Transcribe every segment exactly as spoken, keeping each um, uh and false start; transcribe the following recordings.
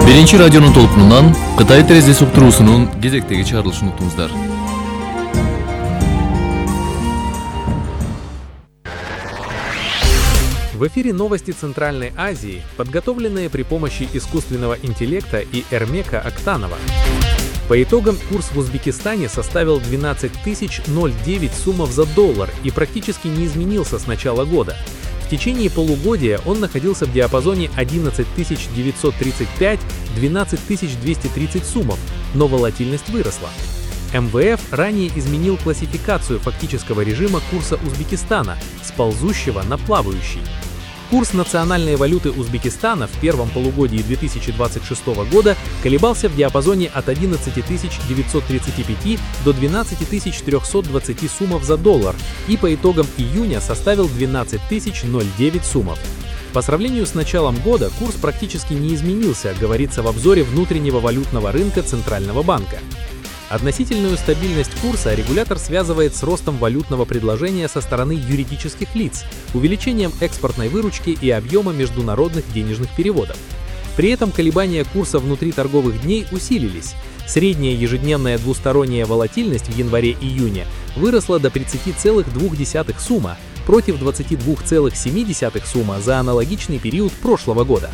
Биринчи радионун толкунунан Кытай терезеси уктуруусунун кезектеги чыгарылышын уктуңуздар. В эфире новости Центральной Азии, подготовленные при помощи искусственного интеллекта и Эрмека Актанова. По итогам курс в Узбекистане составил двенадцать тысяч девять сумов за доллар и практически не изменился с начала года. В течение полугодия он находился в диапазоне одиннадцать тысяч девятьсот тридцать пять — двенадцать тысяч двести тридцать сумов, но волатильность выросла. эм вэ эф ранее изменил классификацию фактического режима курса Узбекистана с ползущего на плавающий. Курс национальной валюты Узбекистана в первом полугодии две тысячи двадцать шестого года колебался в диапазоне от одиннадцати тысяч девятисот тридцати пяти до двенадцати тысяч трёхсот двадцати сумов за доллар и по итогам июня составил двенадцать тысяч девять сумов. По сравнению с началом года курс практически не изменился, говорится в обзоре внутреннего валютного рынка Центрального банка. Относительную стабильность курса регулятор связывает с ростом валютного предложения со стороны юридических лиц, увеличением экспортной выручки и объема международных денежных переводов. При этом колебания курса внутри торговых дней усилились. Средняя ежедневная двусторонняя волатильность в январе-июне выросла до тридцати целых двух десятых сумма против двадцати двух целых семи десятых сумма за аналогичный период прошлого года.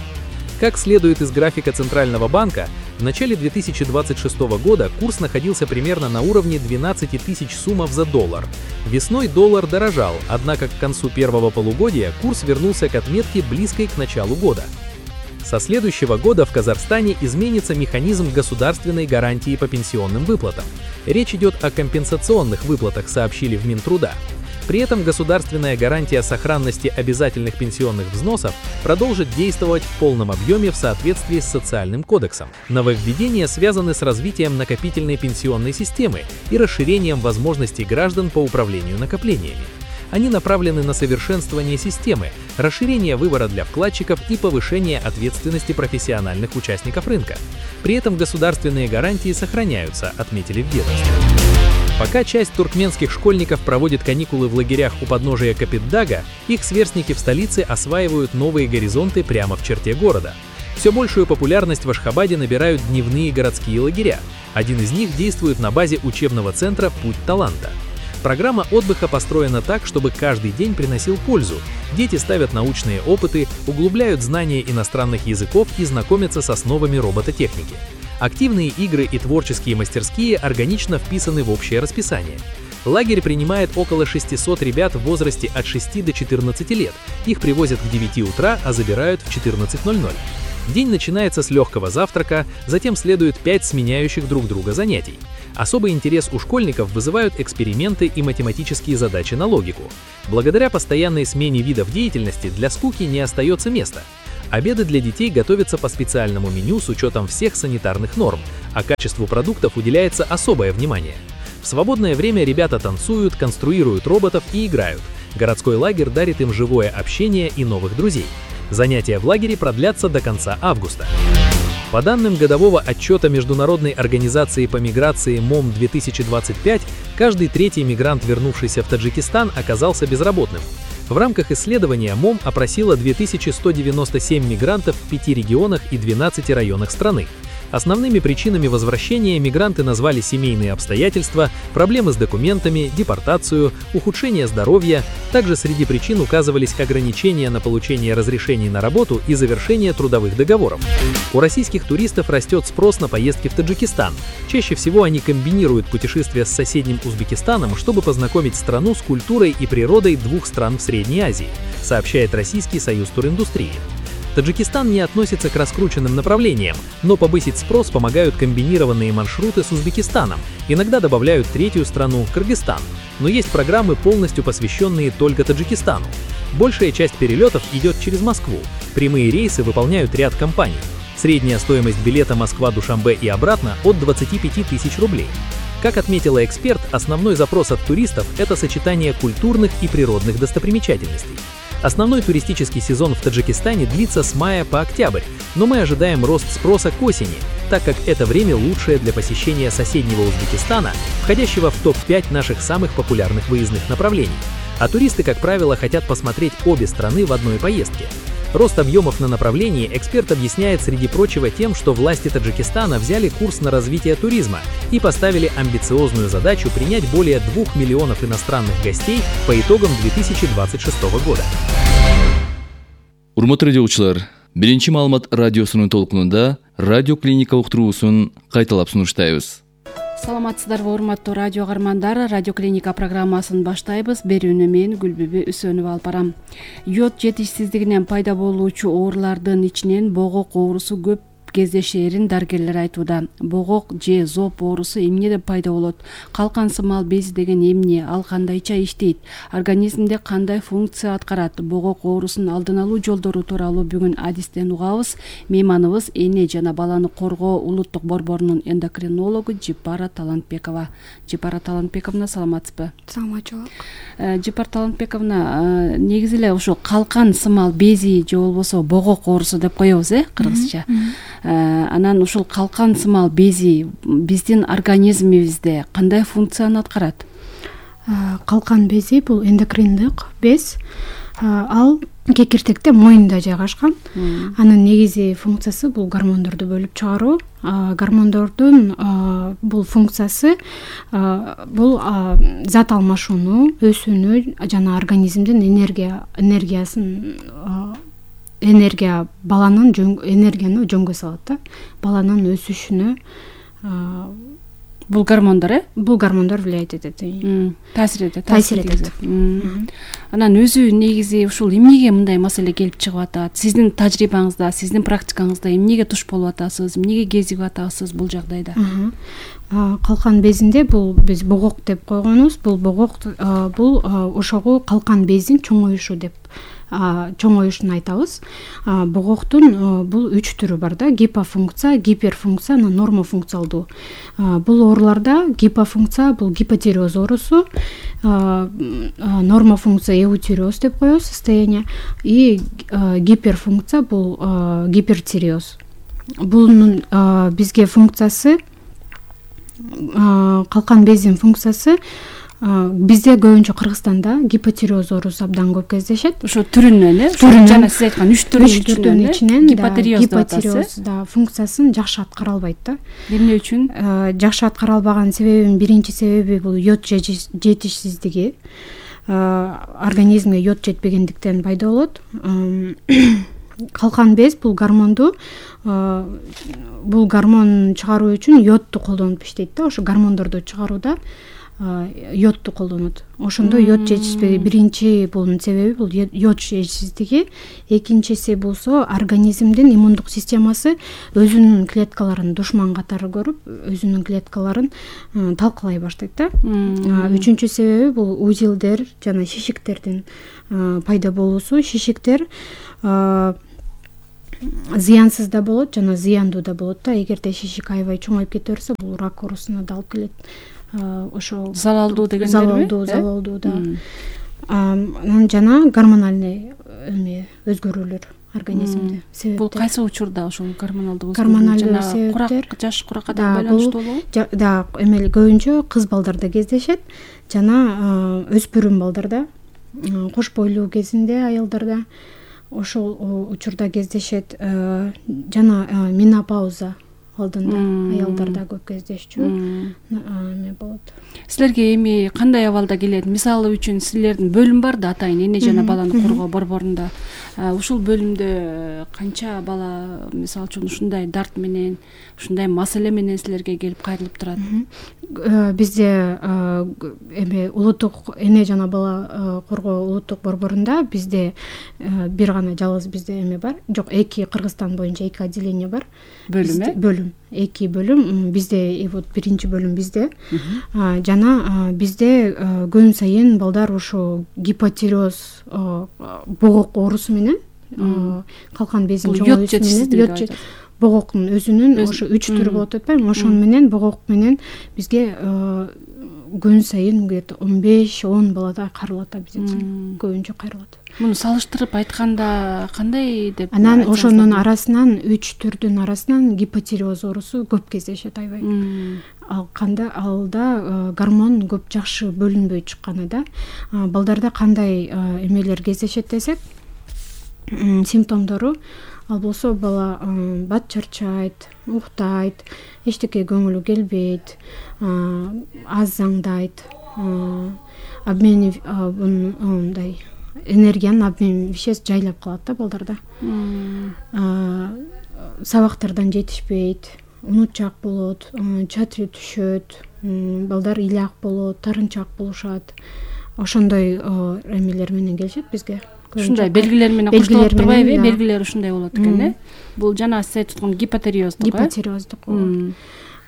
Как следует из графика Центрального банка, в начале две тысячи двадцать шестого года курс находился примерно на уровне двенадцати тысяч сумов за доллар. Весной доллар дорожал, однако к концу первого полугодия курс вернулся к отметке, близкой к началу года. Со следующего года в Казахстане изменится механизм государственной гарантии по пенсионным выплатам. Речь идет о компенсационных выплатах, сообщили в Минтруда. При этом государственная гарантия сохранности обязательных пенсионных взносов продолжит действовать в полном объеме в соответствии с социальным кодексом. Нововведения связаны с развитием накопительной пенсионной системы и расширением возможностей граждан по управлению накоплениями. Они направлены на совершенствование системы, расширение выбора для вкладчиков и повышение ответственности профессиональных участников рынка. При этом государственные гарантии сохраняются, отметили в ведомстве. Пока часть туркменских школьников проводит каникулы в лагерях у подножия Копетдага, их сверстники в столице осваивают новые горизонты прямо в черте города. Все большую популярность в Ашхабаде набирают дневные городские лагеря. Один из них действует на базе учебного центра «Путь таланта». Программа отдыха построена так, чтобы каждый день приносил пользу. Дети ставят научные опыты, углубляют знания иностранных языков и знакомятся с основами робототехники. Активные игры и творческие мастерские органично вписаны в общее расписание. Лагерь принимает около шестисот ребят в возрасте от шести до четырнадцати лет. Их привозят в девяти утра, а забирают в четырнадцать ноль ноль. День начинается с легкого завтрака, затем следует пять сменяющих друг друга занятий. Особый интерес у школьников вызывают эксперименты и математические задачи на логику. Благодаря постоянной смене видов деятельности для скуки не остается места. Обеды для детей готовятся по специальному меню с учетом всех санитарных норм, а качеству продуктов уделяется особое внимание. В свободное время ребята танцуют, конструируют роботов и играют. Городской лагерь дарит им живое общение и новых друзей. Занятия в лагере продлятся до конца августа. По данным годового отчета Международной организации по миграции МОМ две тысячи двадцать пять, каждый третий мигрант, вернувшийся в Таджикистан, оказался безработным. В рамках исследования МОМ опросила две тысячи сто девяносто семь мигрантов в пяти регионах и двенадцати районах страны. Основными причинами возвращения мигранты назвали семейные обстоятельства, проблемы с документами, депортацию, ухудшение здоровья. Также среди причин указывались ограничения на получение разрешений на работу и завершение трудовых договоров. У российских туристов растет спрос на поездки в Таджикистан. Чаще всего они комбинируют путешествия с соседним Узбекистаном, чтобы познакомить страну с культурой и природой двух стран в Средней Азии, сообщает Российский союз туриндустрии. Таджикистан не относится к раскрученным направлениям, но повысить спрос помогают комбинированные маршруты с Узбекистаном, иногда добавляют третью страну – Кыргызстан, но есть программы, полностью посвященные только Таджикистану. Большая часть перелетов идет через Москву, прямые рейсы выполняют ряд компаний. Средняя стоимость билета Москва-Душанбе и обратно от двадцати пяти тысяч рублей. Как отметила эксперт, основной запрос от туристов – это сочетание культурных и природных достопримечательностей. Основной туристический сезон в Таджикистане длится с мая по октябрь, но мы ожидаем рост спроса к осени, так как это время лучшее для посещения соседнего Узбекистана, входящего в топ пять наших самых популярных выездных направлений. А туристы, как правило, хотят посмотреть обе страны в одной поездке. Рост объемов на направлении эксперт объясняет, среди прочего, тем, что власти Таджикистана взяли курс на развитие туризма и поставили амбициозную задачу принять более двух миллионов иностранных гостей по итогам две тысячи двадцать шестого года. Урматтуу радиочулар, биринчи маалымат радиосунун толкунунда радио клиника уктуруусун кайталап сунуштайбыз. Саламатсыздарбы, урматтуу радио каармандар, радио клиника программасын баштайбыз. Берүүнү мен Гүлбүбү Үсөнова алып барам. Йод жетишсиздигинен пайда болуучу оорулардын ичинен богок оорусу көп кездешээрин дарыгерлер айтууда. Богок же зоб оорусу эмнеден пайда болот? Калкан сымал бези деген эмне? Ал кандайча иштейт? Организмде кандай функция аткарат? Богок оорусунун алдын алуу жолдору тууралуу бүгүн адистен угабыз. Мейманыбыз эне жана баланы коргоо улуттук борборунун эндокринологу Жипара Талантбекова. Жипара Талантбековна, саламатсызбы? Саламатчылык. Жипара Талантбековна, негизи эле ошо калкан сымал бези же болбосо богок оорусу деп коебуз, э, кыргызча. Анан ушул калкан сымал бези биздин организмибизде кандай функцияны аткарат? Калкан бези бул эндокриндик без. Ал кекиртекте моюнда жайгашкан. Анын негизи функциясы бул гормондорду бөлүп чыгаруу. Гормондордун бул функциясы бул зат алмашууну, өсүүнү жана организмдин энергия энергиясын энергия баланын энергияны жөнгө салат да. Баланын өсүшүнө бул гормондор, э? Бул гормондор влиять этет. Таасир этет. Таасир этет. Анан өзү негизи ушул эмнеге мындай маселе келип чыгып атат? Сиздин тажрыйбаңызда, сиздин практикаңызда эмнеге туш болуп атасыз? Эмнеге кезигип атасыз бул жагдайда? Калкан безинде бул биз богок деп койгонубуз. Бул богок бул ошого калкан бездин чоңоюшу деп чоңоюшун айтабыз. Богоктун бул үч түрү бар да: гипофункция, гиперфункция, нормофункциалдуу. Бул ооруларда гипофункция бул гипотиреоз оорусу, нормофункция эутиреоз деп коебуз состояние, и гиперфункция бул гипертиреоз. Бунун бизге функциясы, калкан бездин функциясы бизде көбүнчө Кыргызстанда гипотиреоз оорусу абдан көп кездешет. Ошо түрүнөн, э? Жана сиз айткан үч түрүнүн ичинен гипотиреоз да функциясын жакшы аткара албайт да. Эмне үчүн? Жакшы аткара албаган себебин биринчи себеби бул йод жетишсиздиги. Организмге йод жетпегендиктен пайда болот. Калкан без бул гормонду бул гормон чыгаруу үчүн йодду колдонуп иштейт да. Ошо гормондорду чыгарууда йодду колдонот. Ошондо йод жетишпеги биринчи бунун себеби бул йод жетишсиздиги. Экинчиси болсо организмдин иммундук системасы өзүнүн клеткаларын душман катары көрүп, өзүнүн клеткаларын талкалай баштайт да. Үчүнчү себеби бул узелдер жана шишиктердин пайда болуусу. Шишиктер зыянсыз да болот жана зыяндуу да болот да. Эгерде шишик аябай чоңоюп кете берсе, бул рак оорусуна да алып келет. Ошо залалдуу дегендерби? Залалдуу, залалдуу да. Анан жана гормональный эме өзгөрүүлөр организмде себептер. Бул кайсы учурда ошол гормоналдуу гормоналдуу себептер? Курак, жаш куракка да байланыштуу болобу? Да, эме көбүнчө кыз балдарда кездешет жана өспүрүм балдарда, кош бойлуу кезинде аялдарда ошол учурда кездешет, жана менопауза алдында аялдарда көп кездешчү эме болот. Силерге эми кандай абалда келет? Мисалы үчүн силердин бөлүм бар да, атайын эне жана баланы коргоо борборунда. Ушул бөлүмдө канча бала мисалы үчүн ушундай дарт менен, ушундай маселе менен силерге келип кайрылып турат? Бизде эме улуттук эне жана бала коргоо улуттук борборунда бизде бир гана жалгыз бизде эме бар. Жок, эки Кыргызстан боюнча эки отделение бар. Бөлүм, э? Бөлүм. Эки бөлүм бизде, вот биринчи бөлүм бизде. Жана бизде күн сайын балдар ошо гипотиреоз богок оорусу менен, калкан безин чоңоюшу менен, богоктун өзүнүн ошо үч түрү болот атпайбы? Ошон менен богок менен бизге күн сайын где-то он беш он баладай кайрылат, бизде көбүнчө кайрылат. Муну салыштырып айтканда кандай деп? Анан ошонун арасынан үч түрдүн арасынан гипотиреоз оорусу көп кездешет аябай. Ал кандай алда гормон көп жакшы бөлүнбөй чыкканы да. Балдарда кандай эмелер кездешет десек, симптомдору. Ал болсо бала бат чарчайт, уктайт, эчтеке көңүлү келбейт, аз аңдайт, обмен мындай энергиянын обмен веществ жайлап калат да балдарда. Сабактардан жетишпейт, унутчаак болот, чатыры түшөт, балдар ыйлак болот, тарынчаак болушат. Ошондой эмелер менен келишет бизге. Ушундай белгилер менен коштолуп турбайбы? Белгилер ушундай болот экен, э? Бул жана сиз айтып аткан гипотериоздук, э? Гипотериоздук.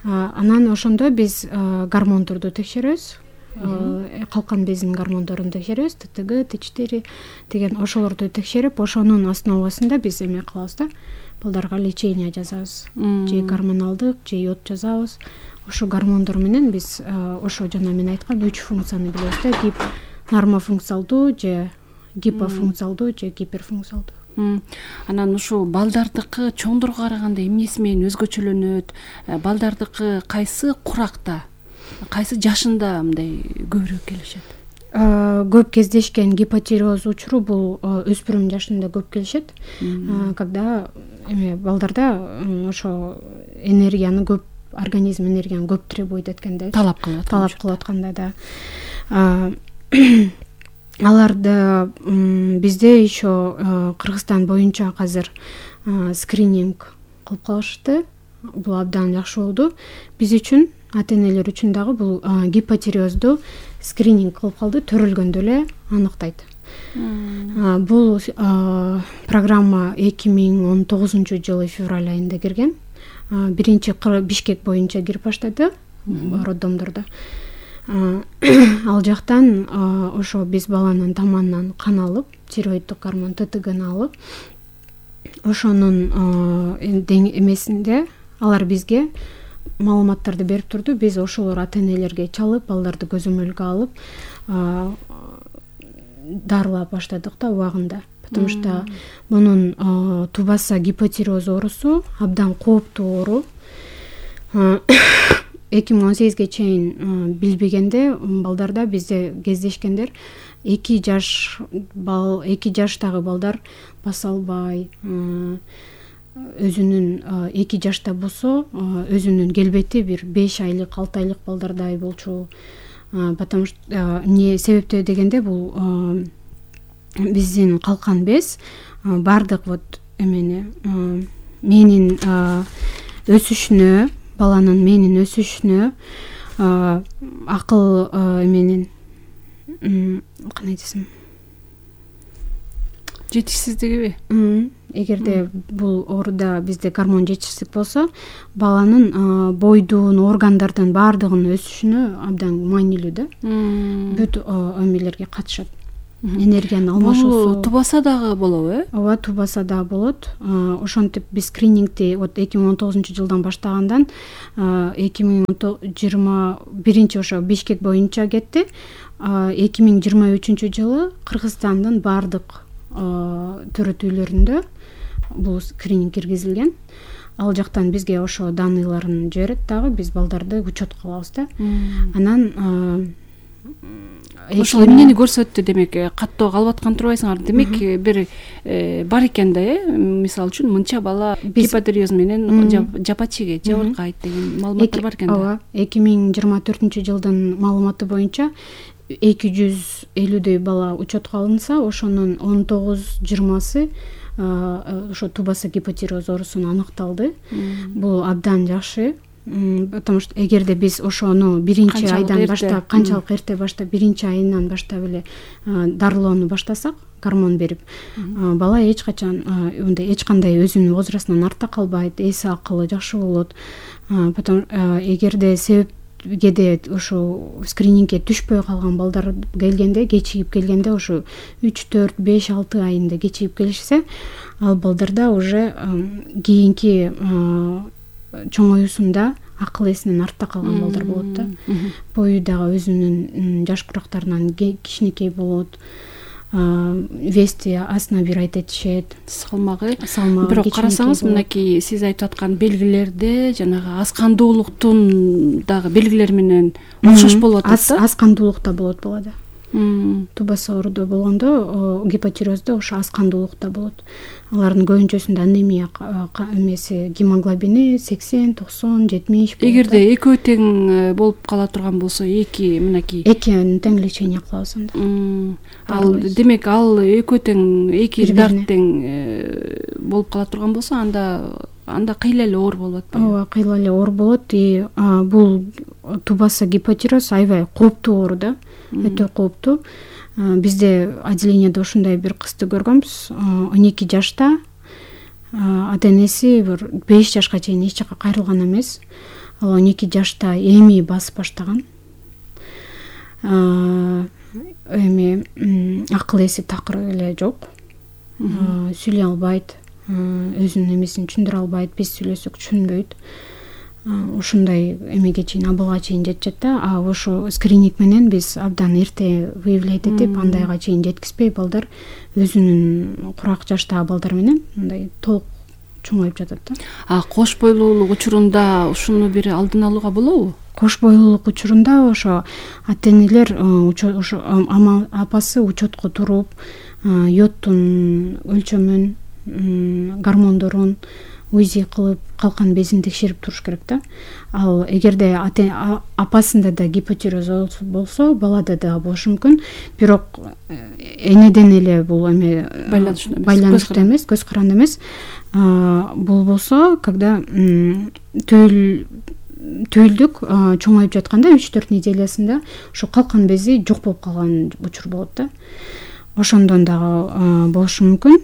Анан ошондо биз гормондорду текшеребиз. Калкан безинин гормондорун текшеребиз, Т Т Г, Т четыре деген ошолорду текшерип, ошонун основасында биз эме кылабыз да. Балдарга лечение жазабыз. Же гормоналдык, же йод жазабыз. Ошо гормондор менен биз ошо жана мен айткан үч функцияны билебиз да. Гип нормофункциялдуу же гипофункциялдуу же гиперфункциялдуу. Анан ушул балдардыкы чоңдорго караганда эмнеси менен өзгөчөлөнөт? Балдардыкы кайсы куракта, кайсы жашында мындай көбүрөөк келишет? Көп кездешкен гипотериоз учуру бул өспүрүм жашында көп келишет. Когда эме балдарда ошо энергияны көп, организм энергияны көп требует эткенде, талап кылат. Талап кылып атканда да. Аларды бизде еще Кыргызстан боюнча азыр скрининг кылып калышты. Бул абдан жакшы болду. Биз үчүн, ата-энелер үчүн дагы бул гипотериозду скрининг кылып калды, төрөлгөндө эле аныктайт. Бул программа эки миң он тогузунчу жылы февраль айында кирген. Биринчи Бишкек боюнча кирип баштады роддомдордо. Ал жактан ошо биз баланын таманынан кан алып, тиреоиддук гормон Т Т Гны алып, ошонун эмесинде алар бизге маалыматтарды берип турду. Биз ошолор ата-энелерге чалып, балдарды көзөмөлгө алып, дарылап баштадык да убагында. Потому что мунун тубаса гипотериоз оорусу абдан кооптуу оору. эки миң он сегизге чейин билбегенде балдарда бизде кездешкендер эки жаш бал эки жаштагы балдар баса албай, өзүнүн эки жашта болсо өзүнүн келбети бир беш айлык, алты айлык балдардай болчу. Потому что эмне себептөө дегенде бул биздин калкан без бардык вот эмени менин өсүшүнө, баланын менин өсүшүнө, акыл эменин кандай десем, жетишсиздигиби? Эгерде бул ооруда бизде гормон жетишсиздик болсо, баланын бойдун, органдардын баардыгынын өсүшүнө абдан маанилүү да. Бүт эмелерге катышат. Энергиянын алмашуусу. Бул тубаса дагы болобу, э? Ооба, тубаса дагы болот. Ошентип биз скринингди вот эки миң он тогузунчу жылдан баштагандан эки миң жыйырма биринчи ошо Бишкек боюнча кетти. эки миң жыйырма үчүнчү жылы Кыргызстандын баардык төрөтүүлөрүндө бул скрининг киргизилген. Ал жактан бизге ошо данныйларын жиберет дагы, биз балдарды учетко алабыз да. Анан ошол эмнени көрсөттү, демек каттоо калып аткан турбайсыңар. Демек бир бар экен да, э? Мисалы үчүн мынча бала гипотериоз менен жапа чегет, жабыркайт деген маалыматтар бар экен да. Ооба, эки миң жыйырма төртүнчү жылдын маалыматы боюнча эки жүз элүүдөй бала учетко алынса, ошонун он тогуз жыйырмасы ошо тубаса гипотериоз оорусуна аныкталды. Бул абдан жакшы. Потому что эгерде биз ошону биринчи айдан баштап, канчалык эрте баштап, биринчи айынан баштап эле дарылоону баштасак, гормон берип, бала эч качан мындай эч кандай өзүнүн возрастынан артта калбайт, эси акылы жакшы болот. Потом эгерде себепкеде ошо скринингге түшпөй калган балдар келгенде, кечигип келгенде, ошо үч, төрт, беш, алты айында кечигип келишсе, ал балдарда уже кийинки чоңоюусунда акыл эсинен артта калган балдар болот да. Бою дагы өзүнүн жаш курактарынан кичинекей болот. Вести астына бир айт этишет. Салмагы. Бирок карасаңыз, мынакей сиз айтып аткан белгилерде жанагы аскандуулуктун дагы белгилери менен окшош болуп атат да. Аскандуулук да болот балада. тубаса оорудо болгондо гипотироздо ошо аз кандуулукта болот. Алардын көбүнчөсүндө анемия эмеси гемоглобини сексен токсон жетимиш болот. Эгерде экөө тең болуп кала турган болсо, эки мынакей экөөнү тең лечение кылабыз анда. Ал демек ал экөө тең эки дарт тең болуп кала турган болсо, анда анда кыйла эле оор болуп атпайбы? Ооба, кыйла эле оор болот. И бул тубаса гипотироз аябай кооптуу оору да, өтө кооптуу. Бизде отделениеде ушундай бир кызды көргөнбүз. он эки жашта ата энеси бир беш жашка чейин эч жака кайрылган эмес. Ал он эки жашта эми басып баштаган. Эми акыл эси такыр эле жок. Сүйлөй албайт, өзүнүн эмесин түшүндүрө албайт, биз сүйлөсөк түшүнбөйт. Ушундай эмеге чейин, абалга чейин жетишет да. А ошо скрининг менен биз абдан эрте выявлять этип, андайга чейин жеткизбей, балдар өзүнүн курак жаштагы балдар менен мындай толук чоңоюп жатат да. А кош бойлуулук учурунда ушуну бир алдын алууга болобу? Кош бойлуулук учурунда ошо ата энелер ошо апасы учетко туруп, йодтун өлчөмүн, гормондорун узи кылып, калкан безин текшерип туруш керек да. Ал эгерде апасында да гипотироз болсо, балада да болушу мүмкүн. Бирок энеден эле бул эме байланыштуу эмес, көз каранды эмес. Бул болсо, когда төл түйүлдүк чоңоюп жатканда үч төрт неделясында ошо калкан бези жок болуп калган учур болот да. Ошондон дагы болушу мүмкүн.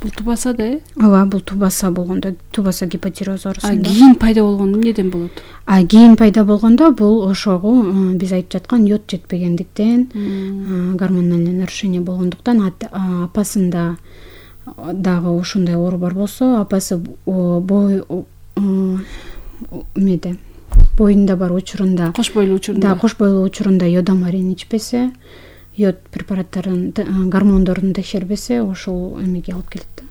Бул тубаса да, э? Ооба, бул тубаса болгондо, тубаса гипотироз оорусунда. А кийин пайда болгондо эмнеден болот? А кийин пайда болгондо бул ошого биз айтып жаткан йод жетпегендиктен, гормоналдык нарушение болгондуктан, апасында дагы ушундай оору бар болсо, апасы бой эмеде боюнда бар учурунда, кош бойлуу учурунда, да, кош бойлуу учурунда йодомарин ичпесе, йод препараттарын, гормондорун текшербесе, ошол эмеге алып келет да.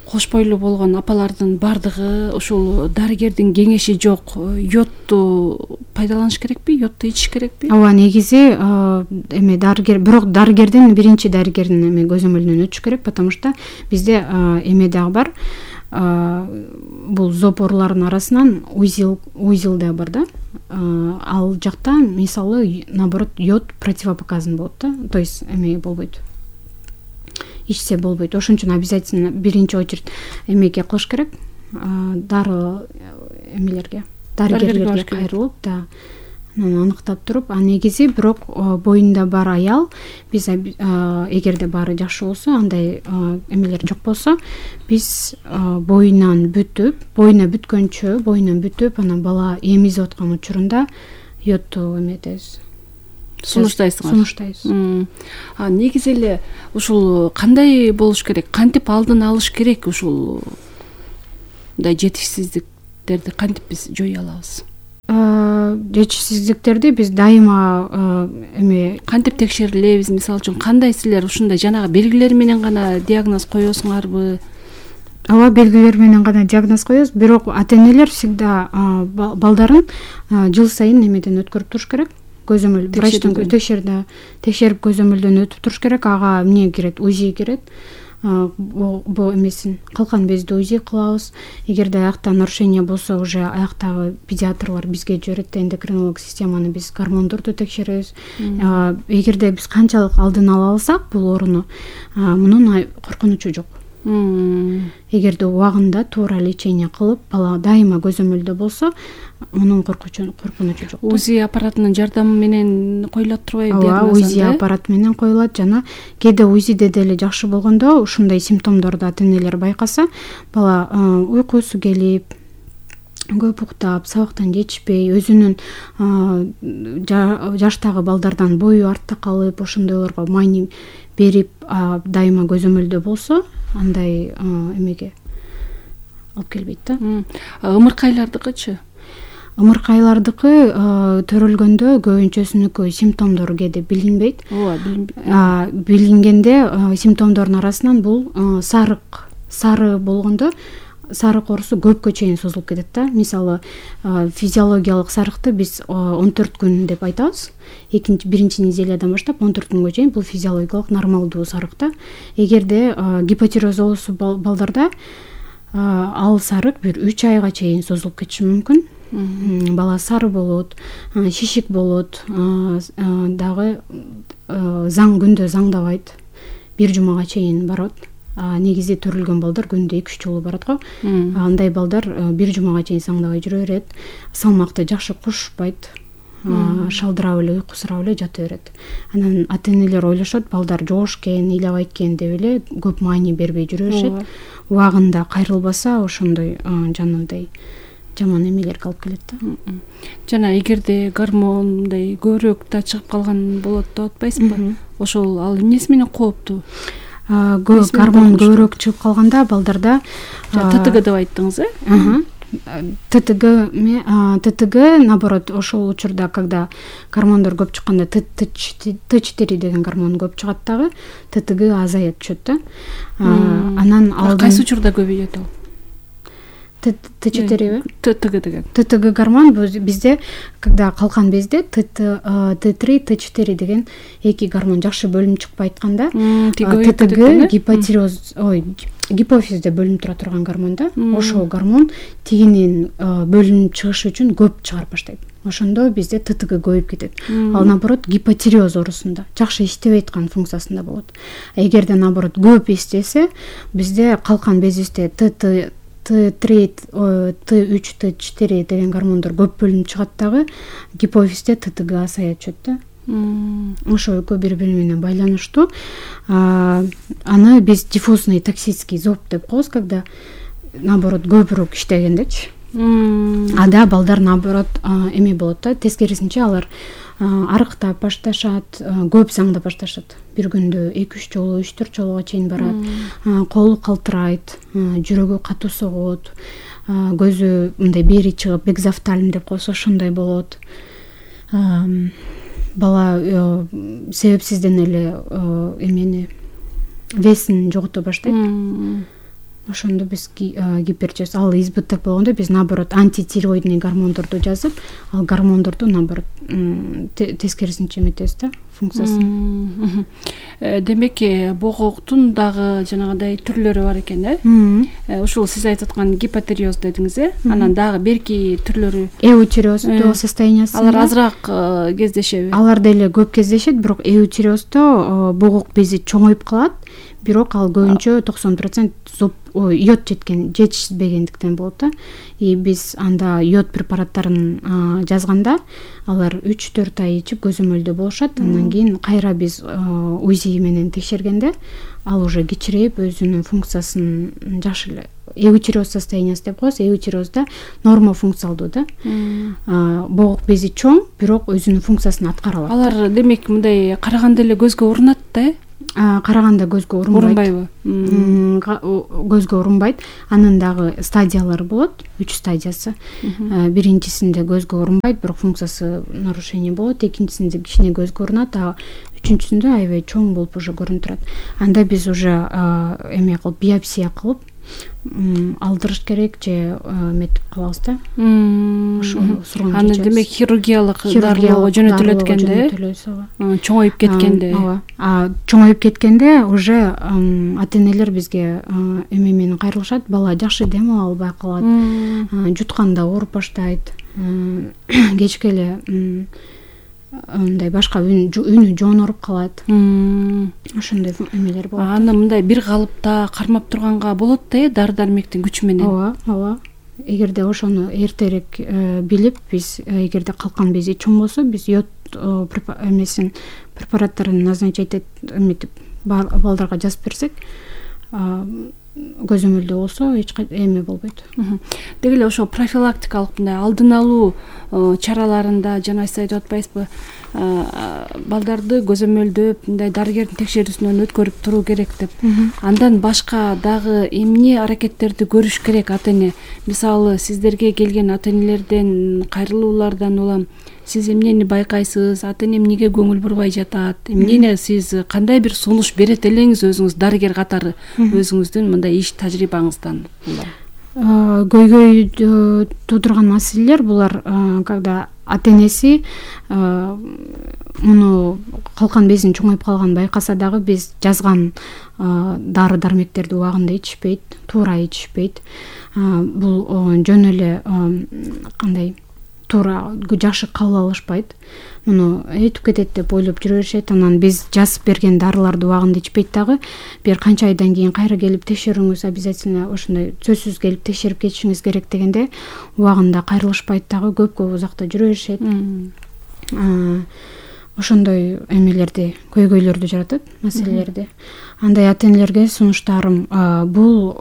Кош бойлуу болгон апалардын бардыгы ушул дарыгердин кеңеши жок, йодду пайдаланыш керекпи, йодду ичиш керекпи? Ооба, негизи эме дарыгер, бирок дарыгердин биринчи дарыгердин эме көзөмөлүнөн өтүш керек, потому что бизде эме дагы бар. Бул зоопорлардын арасынан узил узил да бар да. Ал жакта мисалы наоборот йод противопоказан болот да. То есть эме болбойт. Ичсе болбойт. Ошон үчүн обязательно биринчи очередь эмеге кылыш керек. Дары эмелерге, дарыгерлерге кайрылып, да, аныктап туруп, а негизи бирок боюнда бар аял, биз эгерде баары жакшы болсо, андай эмелер жок болсо, биз боюнан бүтүп, боюна бүткөнчө, боюнан бүтүп, анан бала эмизип аткан учурунда йодду эметебиз. Сунуштайсыңар. Сунуштайбыз. А негизи эле ушул кандай болуш керек? Кантип алдын алыш керек ушул мындай жетишсиздиктерди кантип биз жое алабыз? Жетишсиздиктерди биз дайыма эме кантип текшерилебиз? Мисалы үчүн кандай силер ушундай жанагы белгилер менен гана диагноз коесуңарбы? Ооба, белгилер менен гана диагноз коебуз, бирок ата энелер всегда балдарын жыл сайын эмеден өткөрүп туруш керек. Көзөмөл врачтан текшерди, текшерип көзөмөлдөн өтүп туруш керек. Ага эмне кирет? УЗИ кирет. Бу эмесин калкан безди УЗИ кылабыз. Эгерде аякта нарушение болсо, уже аяктагы педиатрлар бизге жиберет, эндокринолог системаны биз гормондорду текшеребиз. Эгерде биз канчалык алдын ала алсак бул ооруну, мунун коркунучу жок. Эгерде убагында туура лечение кылып, бала дайыма көзөмөлдө болсо, мунун коркунучу жок. УЗИ аппаратынын жардамы менен коюлат турбайбы? Ооба, УЗИ аппарат менен коюлат. Жана кээде УЗИде деле жакшы болгондо, ушундай симптомдорду ата энелер байкаса, бала уйкусу келип, көп уктап, сабактан жетишпей, өзүнүн жаштагы балдардан бою артта калып, ошондойлорго маани берип, дайыма көзөмөлдө болсо, андай эмеге алып келбейт да. Ымыркайлардыкычы? Ымыркайлардыкы төрөлгөндө көбүнчөсүнүкү симптомдору кээде билинбейт. Ооба, билинбейт. Билингенде симптомдордун арасынан бул сарык, сары болгондо сарык оорусу көпкө чейин созулуп кетет да. Мисалы физиологиялык сарыкты биз он төрт күн деп айтабыз. Экинчи биринчи неделядан баштап он төрт күнгө чейин бул физиологиялык нормалдуу сарык да. Эгерде гипотиреоз оорусу балдарда ал сарык бир үч айга чейин созулуп кетиши мүмкүн. Бала сары болот, шишик болот, дагы заң күндө заңдабайт, бир жумага чейин барат. Негизи төрүлгөн балдар күндө эки үч жолу барат го. Андай балдар бир жумага чейин заңдабай жүрө берет. Салмакты жакшы кушпайт, шалдырап эле уйкусурап эле жата берет. Анан ата-энелер ойлошот, балдар жоошкен, ыйлабайт экен деп эле көп маани бербей жүрө беришет. Убагында кайрылбаса ошондой жанагындай жаман эмелерге алып келет да. Жана эгерде гормон мындай көбүрөөк да чыгып калган болот деп атпайсызбы? Ошол ал эмнеси менен кооптуу? Гормон көбүрөөк чыгып калганда балдарда ТТГ деп айттыңыз, э? ТТГ ТТГ наоборот ошол учурда, когда гормондор көп чыкканда Т четыре деген гормон көп чыгат дагы, ТТГ азаят түшөт да. Анан ал кайсы учурда көбөйөт ал? Т четыре ТТГ деген. ТТГ гормон бизде, когда калкан безде Т три, Т четыре деген эки гормон жакшы бөлүнүп чыкпай айтканда, ТТГ гипотиреоз, ой, гипофизде бөлүнүп тура турган гормон да. Ошол гормон тигинен бөлүнүп чыгыш үчүн көп чыгарып баштайт. Ошондо бизде ТТГ көбөйүп кетет. Ал наоборот гипотиреоз оорусунда жакшы иштебей аткан функциясында болот. Эгерде наоборот көп иштесе, бизде калкан безибизде Т Т три, Т үч, Т четыре деген гормондор көп бөлүнүп чыгат дагы, гипофизде ТТГ азая түшөт да. Ошол экөө бири-бири менен байланыштуу. Аны биз диффузный токсический зоб деп коебуз, когда наоборот көбүрөөк иштегендечи. Ада балдар наоборот эме болот да, тескерисинче алар арыктап башташат, көп заңдап башташат. Бир күндө эки үч жолу, үч төрт жолуга чейин барат. Колу калтырайт, жүрөгү катуу согот, көзү мындай бери чыгып, экзофтальм деп коебуз, ошондой болот. Бала себепсизден эле эмени весин жогото баштайт. Ошондо биз гипертиреоз, ал избыттык болгондо биз наоборот антитиреоидный гормондорду жазып, ал гормондорду наоборот тескерисинче эметебиз да, функциясын. Демек, богоктун дагы жанагындай түрлөрү бар экен, э? Ушул сиз айтып аткан гипотиреоз дедиңиз, э? Анан дагы берки түрлөрү эутиреоздуу состояниясында. Алар азыраак кездешеби? Алар деле көп кездешет, бирок эутиреоздо богок бези чоңоюп калат, бирок ал көбүнчө токсон процент зоб йод жеткен, жетишпегендиктен болот да. И биз анда йод препараттарын жазганда, алар үч төрт ай ичип көзөмөлдө болушат. Андан кийин кайра биз УЗИ менен текшергенде, ал уже кичирейип өзүнүн функциясын жакшы эле. Эутиреоз состояниясы деп коебуз. Эутиреозда норма функциялдуу да. Богок бези чоң, бирок өзүнүн функциясын аткара алат. Алар демек мындай караганда эле көзгө урунат да, э? Караганда көзгө урунбайт. Урунбайбы? Көзгө урунбайт. Анын дагы стадиялары болот, үч стадиясы. Биринчисинде көзгө урунбайт, бирок функциясы нарушение болот. Экинчисинде кичине көзгө урунат, а үчүнчүсүндө аябай чоң болуп уже көрүнүп турат. Анда биз уже эме кылып, биопсия кылып алдырыш керек же эметип калабыз да. Аны демек хирургиялык дарылоого жөнөтүлөт экенде, чоңоюп кеткенде. Ооба. Чоңоюп кеткенде уже ата-энелер бизге эме менен кайрылышат, бала жакшы дем ала албай калат, жутканда ооруп баштайт, кечке эле мындай башка үнү жооноруп калат. Ошондой эмелер болот. Аны мындай бир калыпта кармап турганга болот да, дары дармектин күчү менен. Ооба, ооба. Эгерде ошону эртерээк билип, биз эгерде калкан бези чоң болсо, биз йод эмесин препараттарын назначать эметип балдарга жазып берсек, көзөмөлдө болсо эч эме болбойт. Деги эле ошо профилактикалык мындай алдын алуу чараларында жана сиз айтып атпайсызбы, балдарды көзөмөлдөп, мындай дарыгердин текшерүүсүнөн өткөрүп туруу керек деп. Андан башка дагы эмне аракеттерди көрүш керек ата-эне? Мисалы, сиздерге келген ата-энелерден, кайрылуулардан улам сиз эмнени байкайсыз, ата-эне эмнеге көңүл бурбай жатат, эмнени сиз кандай бир сунуш берет элеңиз өзүңүз дарыгер катары, өзүңүздүн мындай иш тажрыйбаңыздан? көйгөй туудурган маселелер булар когда ата энеси муну калкан безин чоңоюп калганын байкаса дагы биз жазган дары дармектерди убагында ичишпейт, туура ичишпейт. Бул жөн эле кандай туура жакшы кабыл алышпайт. Муну өтүп кетет деп ойлоп жүрө беришет. Анан биз жазып берген дарыларды убагында ичпейт дагы. Бир канча айдан кийин кайра келип текшерүүңүз обязательно ошондой сөзсүз келип текшерип кетишиңиз керек дегенде убагында кайрылышпайт дагы, көп көп узакта жүрө беришет. Ошондой эмелерди, көйгөйлөрдү жаратат, маселелерди. Андай ата энелерге сунуштарым бул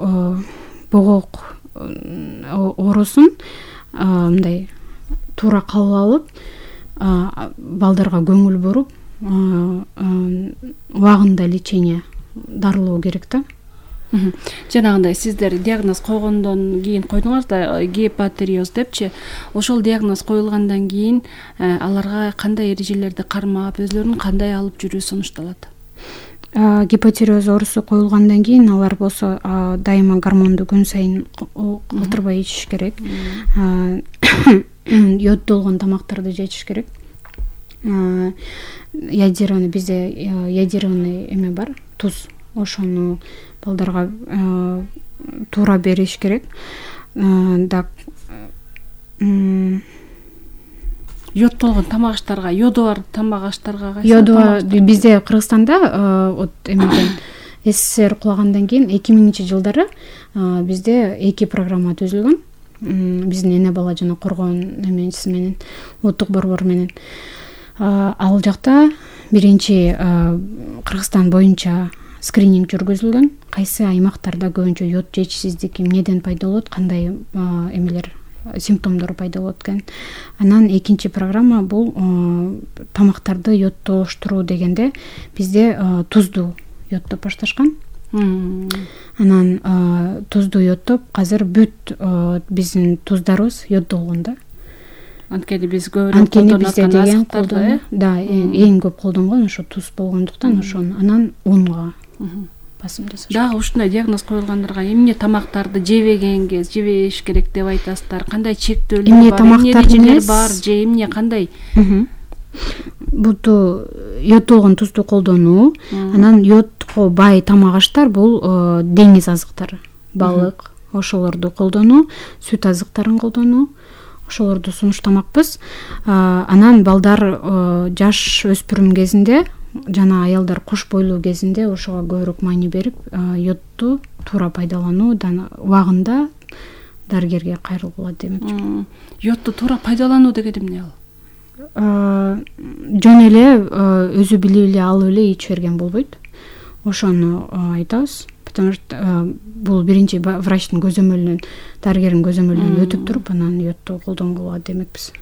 богок оорусун мындай туура кабыл алып, балдарга көңүл буруп, убагында лечение дарылоо керек да. Жанагындай сиздер диагноз койгондон кийин койдуңуз да гепатериоз депчи. Ошол диагноз коюлгандан кийин аларга кандай эрежелерди кармап, өзлөрүн кандай алып жүрүү сунушталат? Гепатериоз оорусу коюлгандан кийин алар болсо дайыма гормонду күн сайын калтырбай ичиш керек. Йоддолгон тамактарды жешиш керек. Ядированный, бизде ядированный эме бар, туз. Ошону балдарга туура бериш керек. Да йоддолгон тамак аштарга, йоду бар тамак аштарга кайсы? Йоду бизде Кыргызстанда вот эмеден СССР кулагандан кийин эки миңинчи жылдары бизде эки программа түзүлгөн. Биздин эне бала жана коргоон эмеси менен, улуттук борбор менен. Ал жакта биринчи Кыргызстан боюнча скрининг жүргүзүлгөн. Кайсы аймактарда көбүнчө йод жетишсиздик эмнеден пайда болот, кандай эмелер, симптомдор пайда болот экен. Анан экинчи программа бул тамактарды йодтоштуруу дегенде бизде тузду йодтоп башташкан. Анан тузду йодтоп, азыр бүт биздин туздарыбыз йоддолгон да. Анткени биз көбүрөөк колдонуп аткан, да, эң көп колдонгон ошо туз болгондуктан ошону анан унга басым жасаш. Дагы ушундай диагноз коюлгандарга эмне тамактарды жебегенге жебеш керек деп айтасыздар? Кандай чектөөлөр бар, эмне эрежелер бар же эмне кандай? Буту йоддолгон тузду колдонуу, анан йодко бай тамак аштар бул деңиз азыктары, балык, ошолорду колдонуу, сүт азыктарын колдонуу, ошолорду сунуштамакпыз. Анан балдар жаш өспүрүм кезинде жана аялдар кош бойлуу кезинде ошого көбүрөөк маани берип, йодду туура пайдалануу, убагында дарыгерге кайрылгыла демекчи. Йодду туура пайдалануу деген эмне ал? Жөн эле өзү билип эле алып эле ичип берген болбойт. Ошону айтабыз. Потому что бул биринчи врачтын көзөмөлүнөн, дарыгердин көзөмөлүнөн өтүп туруп, анан йодду колдонгула демекпиз.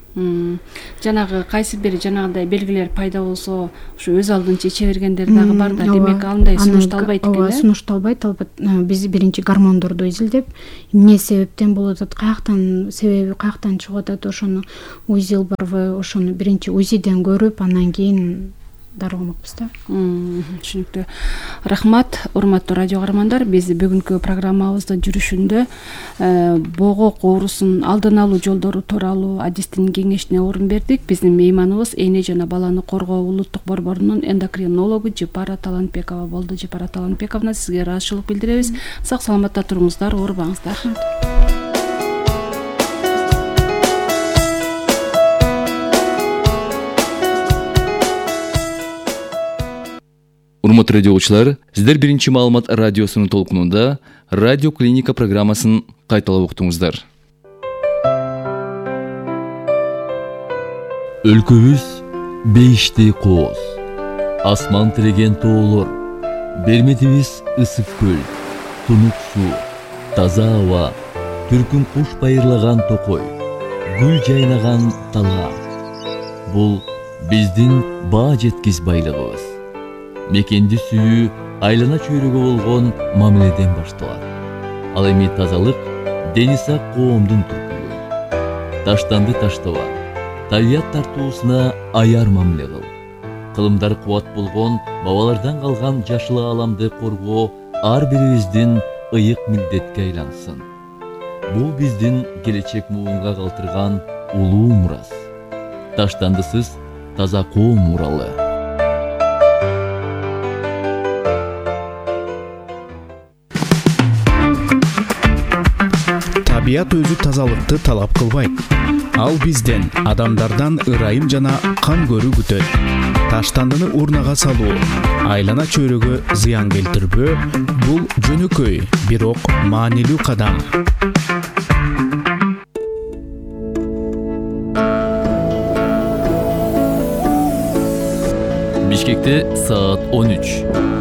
Жанагы кайсы бир жанагындай белгилер пайда болсо, ушу өз алдынча иче бергендер дагы бар да, демек андай сунушталбайт экен. Ооба, сунушталбайт, албетте. Биз биринчи гормондорду изилдеп, эмне себептен болуп атат, каяктан себеби каяктан чыгып атат, ошону УЗИ барбы, ошону биринчи УЗИден көрүп, анан кийин дарыламакпыз да. Түшүнүктүү. Рахмат, урматтуу радио каармандар. Биз бүгүнкү программабыздын жүрүшүндө богок оорусунун алдын алуу жолдору тууралуу адистин кеңешине орун бердик. Биздин мейманыбыз эне жана баланы коргоо улуттук борборунун эндокринологу Жапара Талантбекова болду. Жапара Талантбековна, сизге ыраазычылык билдиребиз. Сак саламатта туруңуздар, оорубаңыздар. Урматтуу радио угуучулар, сиздер биринчи маалымат радиосунун толкунунда радио клиника программасын кайталап уктуңуздар. Өлкөбүз бейиштей кооз, асман тиреген тоолор, берметибиз ысык көл, тунук суу, таза аба, түркүн куш байырлаган токой, гүл жайнаган талаа. Бул биздин баа жеткис байлыгыбыз. Мекенди сүйүү айлана чөйрөгө болгон мамиледен башталат. Ал эми тазалык дени сак коомдун түркүлүгү. Таштанды таштаба, табият тартуусуна аяр мамиле кыл. Кылымдар кубат болгон бабалардан калган жашыл ааламды коргоо ар бирибиздин ыйык милдетке айлансын. бул биздин келечек муунга калтырган улуу мурас. Таштандысыз таза коом муралы. Табият өзү тазалыкты талап кылбайт. Ал бизден, адамдардан ырайым жана кам көрүү күтөт. Таштандыны урнага салуу, айлана чөйрөгө зыян келтирбөө — бул жөнөкөй, бирок маанилүү кадам. Бишкекте саат он үч.